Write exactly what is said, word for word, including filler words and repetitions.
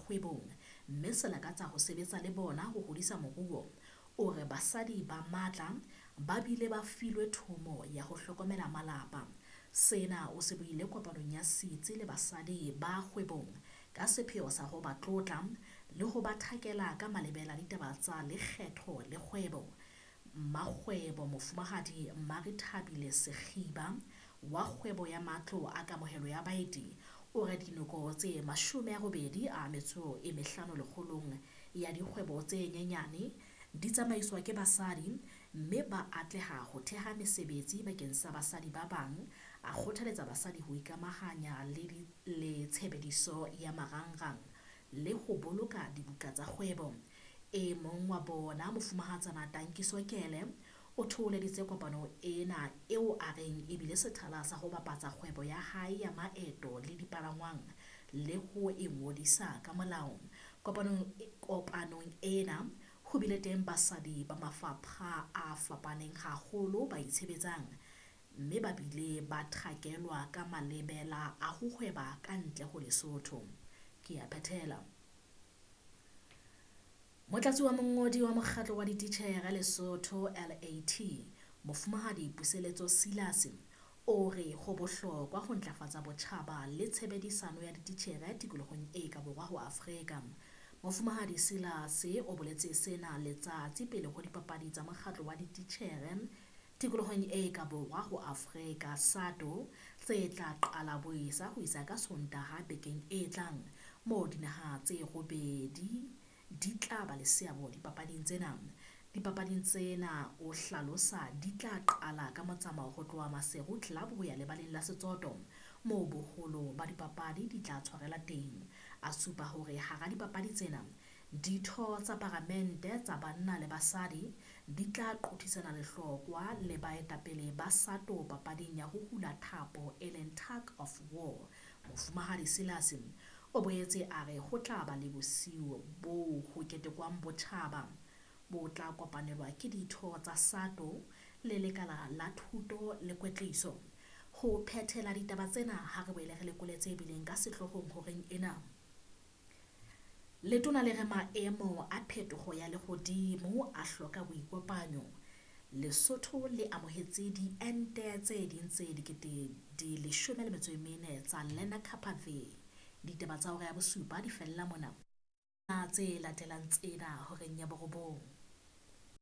kgwebong mme se lakatsa ho sebetsa le bona ho hodisa moruo. O re basadi ba matla ba bile ba filwe thomo ya ho hlokomela malapa. Sena o se buile kopanong ya setsi le basadi ba kgwebong ka sepheo sa ho ba tlotla le ho ba thakela ka malebela a ditaba tsa lekgetho le kgwebo. Mmakgwebo Mofumahadi Marethabile Sekgiba wa kgwebo ya matlo a kamohelo ya baeti o re dinoko tse mashome a robedi a metso e mehlano lekgolong ya dikgwebo tse nyenyane di tsamaiswa ke basadi mme ba atleha ho theha mesebetsi bakeng sa basadi ba bang. A kgothaletsa basadi ho ikamahanya le le tshebediso ya marangrang le ho boloka dibuka tsa kgwebo. E mong wa bona Mofumahatsana Tankiso Kele o thoholeditse kopano ena eo a reng e bile sethala sa ho bapatsa kgwebo ya hae ya maeto le dipalangwang le ho e ngodisa ka molao. Kopanong kopanong ena ho bile teng basadi ba mafapha a fapaneng haholo ba itshebetsang mme ba bile ba thakelwa ka malebela a ho hweba ka ntle ho Lesotho. Ke a phethela. Motlatsi wa mongodi wa mokgatlo wa dititjhere Lesotho L A T, Mofumahadi Puseletso Silas, o re ho bohlokwa ho ntlafatsa botjhaba le tshebedisano ya dititjhere tikolohong e ka borwa ho Afrika. Mofumahadi Silas o boletse sena letsatsi pele ho dipapadi tsa mokgatlo wa dititjhere tikolohong e ka borwa ho Afrika SATO tse tla qala boesa ho isa ka Sontaha bekeng e tlang, moo dinaha tse robedi di tla ba le seabo dipapading tsena. Dipapading tsena o hlalosa di tla qala ka motsamao ho tloha Maseru Club ho ya lebaleng la Setsoto moo boholo ba dipapadi di tla tshwarela teng. A supa hore hara dipapadi tsena ditho tsa paramente tsa banna le basadi di tla qothisana lehlokwa le baetapele ba SATO papading ya ho hula thapo e leng tug of war. Mofumahadi Silas o boetse a re ho tla ba le bosiu boo ho ketekwang botjhaba bo tla kopanelwa ke ditho tsa SATO le lekala la thuto le kwetliso. Ho phethela ditaba tsena ha re boele re lekole tse bileng ka sehloohong horeng ena. Letona le re maemo a phetoho ya lehodimo a hloka boikopanyo. Lesotho le amohetse diente tse ding tse dikete di leshome le metso e mene tsa Lenacapavir. Ditaba tsa hora ya bosupa di fella mona. Tse latelang tsena horeng ya borobong.